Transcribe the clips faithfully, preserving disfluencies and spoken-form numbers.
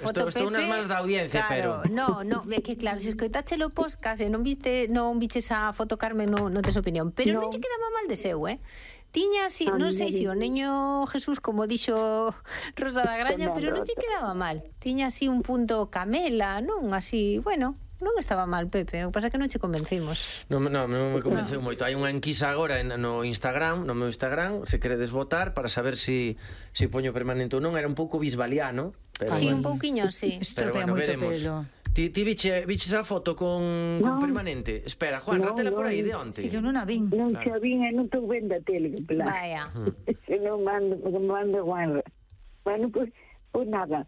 foto estou, estou Pepe... nas mans da audiencia, claro, pero... no, no, é que claro, se escoitache o podcast e non viste, non viches a foto Carmen, non, non tes opinión. Pero no. non che quedaba mal de seu, eh? Tiña así, non sei se o neño Jesús, como dixo Rosa da Graña, pero non lle quedaba mal. Tiña así un punto camela, non? Así, bueno... Non estaba mal, Pepe, o que pasa que non che convencimos. Non, non, non me convenceu no. moito. Hai unha enquisa agora en, no Instagram, no meu Instagram, se queredes votar para saber si, si poño permanente ou non. Era un pouco bisbaliano. Pero sí, bueno. un pouquiño, sí. Pero bueno, veremos. Pelo. Ti, ti viche, viches a foto con, no. con permanente? Espera, Juan, no, rátela no, por aí de onte. Si que eu non a vin. Non claro. xa vin, e non estou vendo a tele. Vaya. Se non mando, porque me mando Juan. Bueno, pues, pues nada.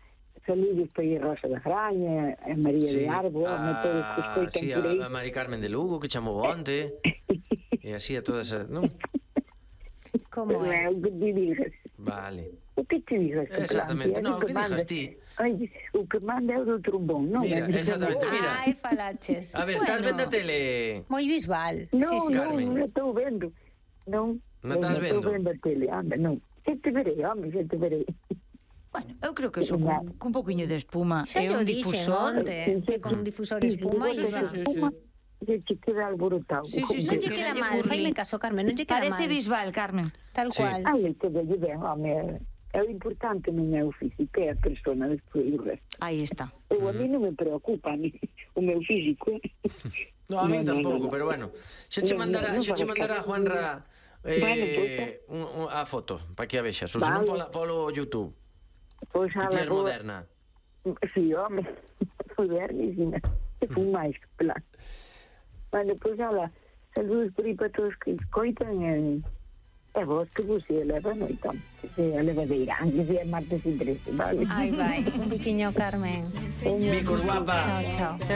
Saludos para a Rosa da Graña, a María sí, de Arbo, a, a todos que escoitan sí, por aí. A Mari Carmen de Lugo, que chamou onte, e así a todas esas, non? Como é? O que te digas. Vale. O que te digas? Exactamente, non, o que digas ti? Ai, o que manda é o do trombón, non? Mira, exactamente, mira. Ai, falaches. A ver, bueno, estás vendo a tele? Moi visual. Non, sí, sí, non, sí, non estou vendo. Non, non estás vendo? estou vendo a tele, anda, non. Xa te verei, home, xa te verei. Bueno, eu creo que son con, con un poquinho de espuma xa e un difusor onte, que con un difusor de espuma sí, sí, sí, sí. che queda alborotado. Sí, sí, non lle queda mal, faime caso, Carmen, non lle queda mal. Parece visual, Carmen. Tal cual. Ai, que de ben, home, é o importante non é o físico, é a persona despois do resto. Aí está. Eu a mí non me preocupa a mí, o meu físico. No, a mí tampouco, pero bueno, xa che mandará, xa che mandará Juanra eh, a foto, para que a vexas, ou senón polo YouTube. Pois que ti és moderna. Si, home, modernísima. Que fun máis, plan. Bueno, pois, ala, saludos por aí para todos que escoitan e, e vos que vos se eleva noite. Se eleva de Irán, que é martes e trece, vale? Ai, vai, un biquiño, Carmen. Bicos, guapa. Chao, chao.